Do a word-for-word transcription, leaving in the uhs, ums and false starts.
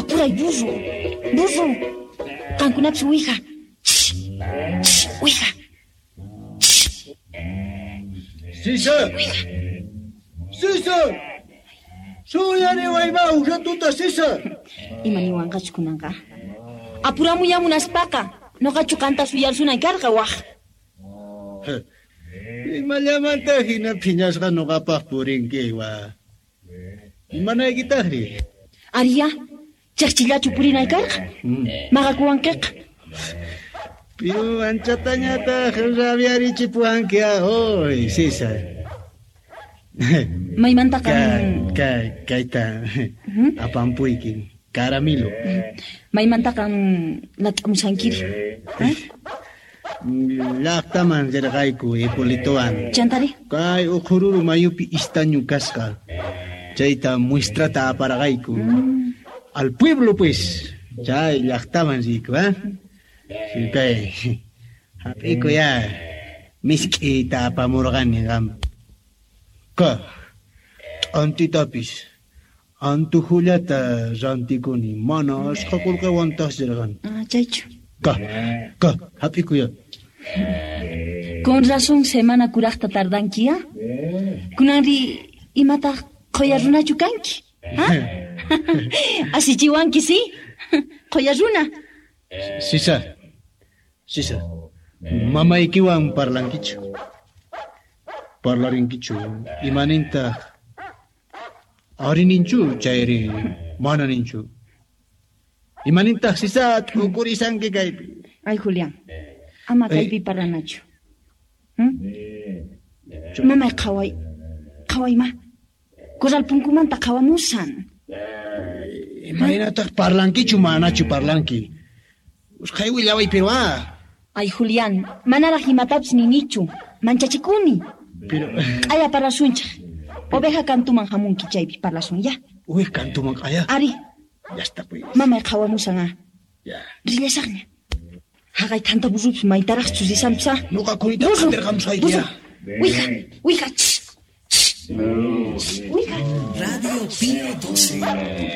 Apuray, burro. Burro. Qankunapis uwija. Uwija. Sisa. Sisa. Suyariwayma uratuta, Sisa. Ima niwanqachu kunanqa? Apuramuya munaspaqa. Noqachu qanta suyarsunay karqa waq. Imallamanta hina phiñasqa noqapaq purinki wa. Imanaykitaqri? Ariya, chaqchillachu purinay karqa? Maqakuwankiqa. Piru anchatañataq rabiarichipuwanki ahoy, Sisa. Maymantaqa Ka, kayta apampuyki, caramelo. Maymantaqa lat'amushankiri. Llaqtaman rirqayku Hipolitowan. Chantari? Kay Uqururu mayupi istañu kasqa. Chayta muestrata aparqayku. Mm. Al pueblo pues. Chay llaqtaman riyku, ¿eh? Kay hap'iku ya misk'ita apamurqani qam. Ka t'antitapis antujullata rantikuni mana ashqa qullqiwantaq rirqani. Ah, chaychu. Ka, ka, hap'iku ya. Con razón semana kuraqta tardanki, ¿ah? Kunanri imataq qhuya runachu kanki? ¿Ah? Asichiwanki, sí? Qhuya runa. Sisa, Sisa, mamaykiwan parlankichu. Parlarinkichu, imanintaq ari ninchu chayri mana ninchu. Imanintaq Sisa t'ukurisanki kaypi. Ay, Julián, ama kaypi parlanachu. ¿Mm? Mamay qhaway, qhaway ma. Corral punkumanta qhawamusan. Imaynataq parlankichu manachu parlanki. Usqhay willaway pero ah. Ay, Julián, manaraq imatapis ninichu. Manchachikuni. Pero q'aya parlasunchaq. Oveja kantuman hamunki chaypi parlasun ya. Uy, kantuman q'aya. Ari. Ya está pues. Mamay qhawamusan ah. Ya. Rillasaqña. Haqay thanta burrupis maytaraqchus risanpis ah. Nuqa kunita qatirqamusqayki ya. Uwija, uwija. Uwija. Radio Pío doce.